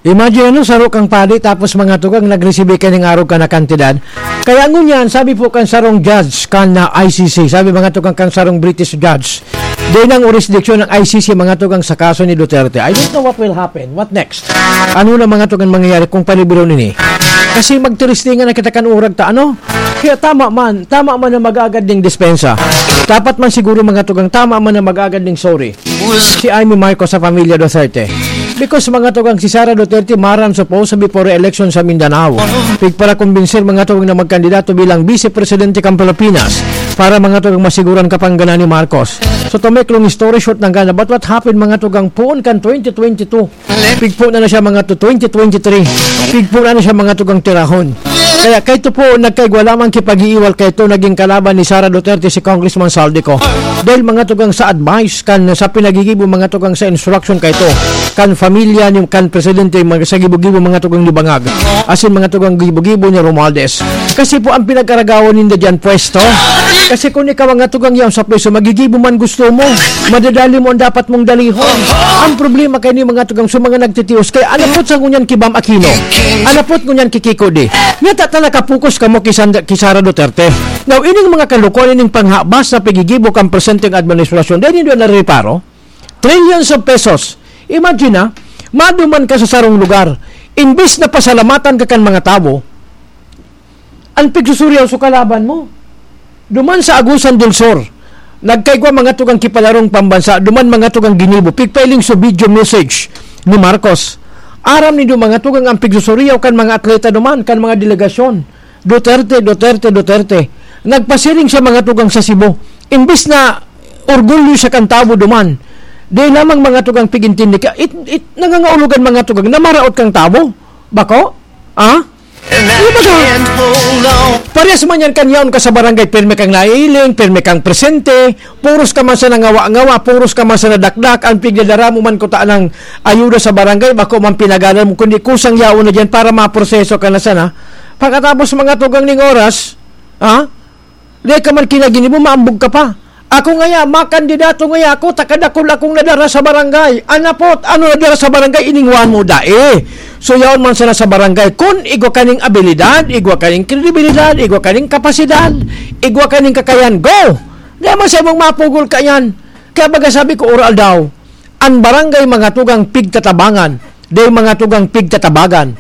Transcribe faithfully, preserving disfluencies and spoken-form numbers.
Imagine, ano, saro kang padi, tapos, mga tugang, nagresibi ka ning arog ka na kantidad. Kaya ngunyan, sabi po kan sarong judge kan na I C C, sabi, mga tugang, kan sarong British judge, di nang jurisdiction ng I C C, mga tugang, sa kaso ni Duterte. I don't know what will happen. What next? Ano na, mga tugang, mangyayari kung paliburon ini? Kasi magtiristingan na kita kan urag ta, ano? Kaya tama man, tama man na mag-agad ning dispensa. Dapat man siguro, mga tugang, tama man na mag-agad ning sorry si Imee Marcos sa pamilya Duterte. Because, mga tugang, si Sara Duterte maran supposed to be for re-election sa Mindanao. Pigparakumbinser, mga tugang, na magkandidato bilang vice presidente kan Pilipinas para, mga tugang, masiguran kapangganan ni Marcos. So, to make long story short, nanggana, but what happened, mga tugang, poon kan twenty twenty-two? Pigpo na na siya, mga to, twenty twenty-three. Pigpo na na siya, mga tugang, tirahon. Kaya kaito po, nagkaigwa lamang kipag-iiwal kaito, naging kalaban ni Sara Duterte si Congressman Zaldy Co. Dahil, mga tugang, sa advice kan, sa pinagigibo, mga tugang, sa instruction kaito kan pamilya ni, kan presidente, mga sa gibo-gibo, mga tugang, ni Bangag. Asin, mga tugang, gibo-gibo ni Romualdez. Kasi po ang pinag-aragawan ninda diyan, pwesto. Kasi kung ikaw, mga tugang, yaon sa pwesto, magigibo man gusto mo. Madadali mo ang dapat mong dalihon. Ang problema kay ni, mga tugang, sa mga nagtitios, kay anapot sa ngunyan ki Bam Aquino. Anapot ngunyan ki Kiko di. Nya ta, ta nakapokus kamo ki Sandra, ki Sara Duterte. Now, ining mga kalukuhan, ining panghabas na pigigibo kan presenteng administrasyon, dahil hindi na reparo. Trillions of pesos. Imagine na, maduman ka sa sarong lugar. Imbis na pasalamatan ka kan mga tawo, ang pigsusuriyaw sa kalaban mo. Duman sa Agusan del Sur, nagkaigwa, mga tugang, kipalarong pambansa, duman, mga tugang, ginibo, pigpailing sa video message ni Marcos. Aram nindo, mga tugang, ang pigsusuriyaw kan mga atleta duman, kan mga delegasyon. Duterte, Duterte, Duterte. Nagpasiring siya, mga tugang, sa Cebu. Imbis na orgulyo siya kan tawo duman, di lamang, mga tugang, pigintindi ka, it, it, nangangaulogan, mga tugang, na maraot kang tawo. Bako? Ah? Di ba ka? Parehas man yan kan yaon ka sa barangay, pirmi kang nailing, pirmi kang presente, puros ka man sa nangawa-ngawa, puros ka man sa nadakdak, ang pigdadara mo man kuta ng ayuda sa barangay, bako man pinagalan mo, kundi kusang yaon na dyan para maproseso ka na sana. Pagkatapos, mga tugang, ning oras, ha? Di ka man kinaginibo, maambog ka pa. Ako ngaya, makandidato ngaya ako, takadakul akong nadara sa barangay. Anapot, ano nadara sa barangay, iningwan mo dai. So, yaon man sana sa barangay. Kun igwa kaning abilidad, igwa kaning kredibilidad, igwa kaning kapasidad, igwa kaning kakayan, go! Di man sa imong mapugol ka yan. Kaya baga sabi ko, oral daw, ang barangay, mga tugang, pigtatabangan, di, mga tugang, pigtatabagan.